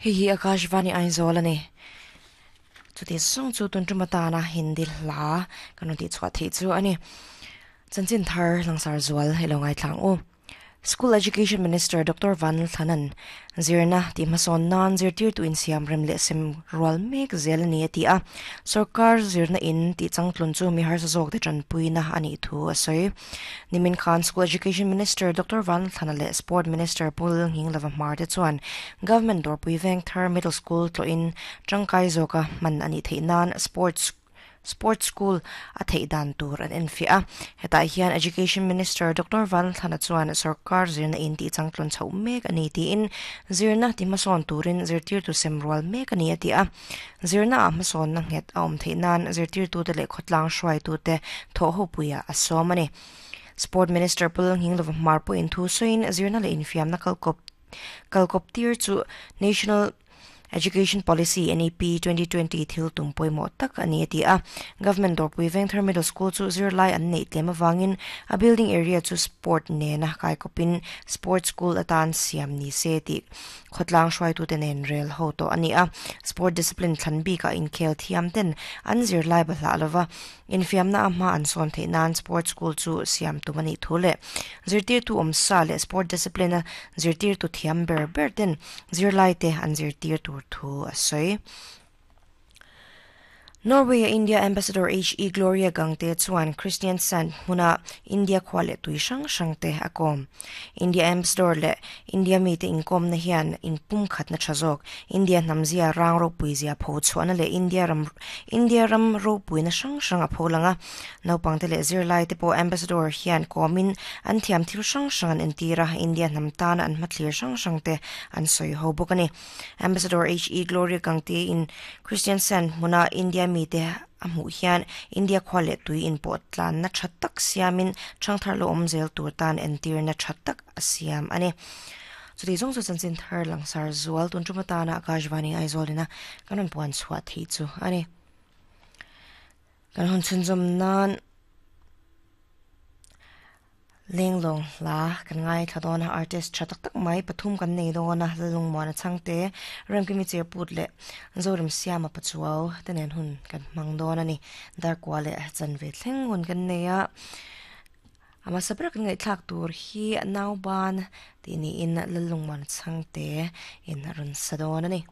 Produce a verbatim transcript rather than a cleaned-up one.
Hei hi Akashvani Aizawl ani. Chuti song chu tun tumatana Hindi hla kan rawn tih chhuah theih chu ani. Chanchin thar langsar zual hei lo ngaithlang u. School Education Minister Doctor Van Thanan zirna ti hmasawn nan zirtir tu insiam rem leh sem rual mek zel ani a ti a. Sarkar zirna in ti changtlun chu mi harsa zawk te tanpuina ani thu a sawi. Nimin Khan School Education Minister Doctor Van Thana leh Sport Minister Pul Nging Lava Hmar te chuan Government Dawrpui Vengthar Middle School tlo in tangkai zawka man ani theih nan sports Sports School a theih dan tur an en fiah a. Hetah hian Education Minister Doctor Van Thana chuan sarkar zirna in ti changtlun chho mek ani tiin zirna ti hmasawn turin zirtir tu sem rual mek ani a ti a. Zirna a hmasawn na nghet a awm theih nan zirtir tu te leh khawtlang hruai tu te thaw ho puia a sawm ani. Sport Minister Pul Nging Lova Hmar pawh in thu sawiin zirna leh infiamna kalkawp kalkawp tir chu National Education Policy N E P twenty twenty thil tum pawimawh tak ani a ti a. Government Dawrpui Vengthar Middle School chu zirlai an neih tlem awangin a building area chu sport nena kaikawpin sports school atan siam ni se tih khawtlang hruai tu te nen rel ho tawh ani a. Sport discipline thlan bikah inkhel thiam ten an zirlai bahlah lova infiamna a hma an sawn theih nan sports school chu siam tum ani thu leh zirtir tu awm sa leh sport discipline a zirtir tu thiam ber ber ten zirlai te an zirtir tur thu a sawi. Norway India Ambassador H E Gloria Gangte chuan Christian Sand hmuna India khua leh tui hrang hrang te a kawm. India Ambassador leh India mi te inkawm na hian inpum khat na tha zawk. India hnamzia rang ropui zia pho chhuahna leh India ram India ram ropui na hrang hrang a pho langa. Naupang te leh zirlai te pawh Ambassador hian kawmin an thiam thil hrang hrang an entira India hnam tan an hmathlir hrang hrang te an sawi ho bawk ani. Ambassador H E Gloria Gangte in Christian Sand hmuna India mi te a hmuh hian India khua leh tui in pawh tlan na tha tak siamin thangthar lo awm zel tur tan entir na tha tak a siam ani. Chuti zawng chu chanchin thar langsar zual tun tuma tana Akashvani Aizawlina kan rawn puan chhuah theih chu ani. Kan hun chhunzawm nan lenglong hla kan ngai thla dawn a artist tha tak tak mai pathum kan nei dawn a lalung muan a changte remkimi cherput leh Zoram Siama Pachuau te nen hun kan hmang dawn ani. Darkua leh chanve thleng hun kan nei a. Ama sabra kan ngaihthlak tur hi nauban ti niin lalung muan a changte in rawn sa dawn ani.